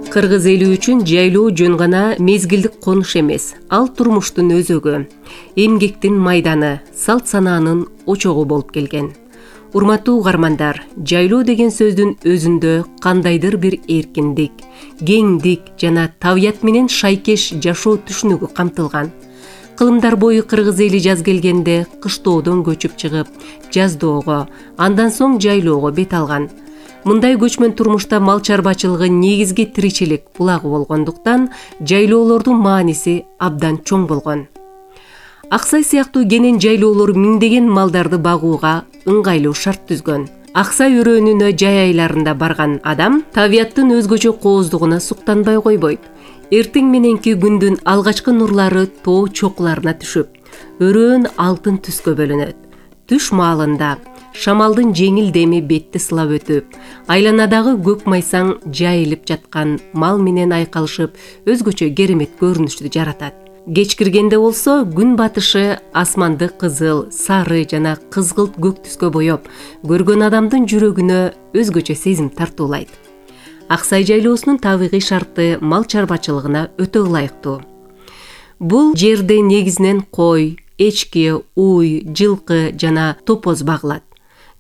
Кыргыз эли үчүн жайлоо жөн гана мезгилдик конуш эмес, ал турмуштун өзөгү, эмгектин майданы, салт санаанын очогу болуп келген. Урматтуу угармандар, жайлоо деген сөздүн өзүндө кандайдыр бир эркиндик, кеңдик жана табият менен шайкеш жашоо түшүнүгү камтылган. Кылымдар бою кыргыз эли жаз келгенде кыштоодон көчүп чыгып, жаздоого, андан соң жайлоого бет алган. Мындай көчмөн турмушта мал чарбачылыгы негизги тиричилик булагы болгондуктан жайлоолордун мааниси абдан чоң болгон. Аксай сыяктуу кенен жайлоолор миңдеген малдарды багууга ыңгайлуу шарт түзгөн. Аксай өрөөнүнө жай айларында барган адам табияттын өзгөчө кооздугуна суктанбай койбойт. Эртең мененки күндүн алгачкы нурлары тоо чокуларына түшүп, өрөөн алтын түскө бөлүнөт. Түш маалында шамалдын жеңил деми бетти сылап өтүп, айланадагы көк майсаң жайылып жаткан мал менен айкалышып, өзгөчө керемет көрүнүштү жаратат. Кеч киргенде болсо күн батышы асманды кызыл, сары жана кызгылт көк түскө боеп, көргөн адамдын жүрөгүнө өзгөчө сезим тартуулайт. Аксай жайлоосунун табигый шарты мал чарбачылыгына өтө ылайыктуу. Бул жерде негизинен кой, эчки, уй, жылкы жана топоз багылат.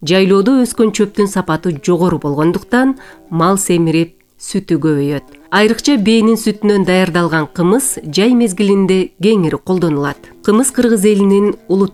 Жайлоодо өскөн чөптүн сапаты жогору болгондуктан мал семирип, сүтү көбөйөт. Айрыкча бээнин сүтүнөн даярдалган кымыз жай мезгилинде кеңири колдонулат. Кымыз кыргыз элинин улуттук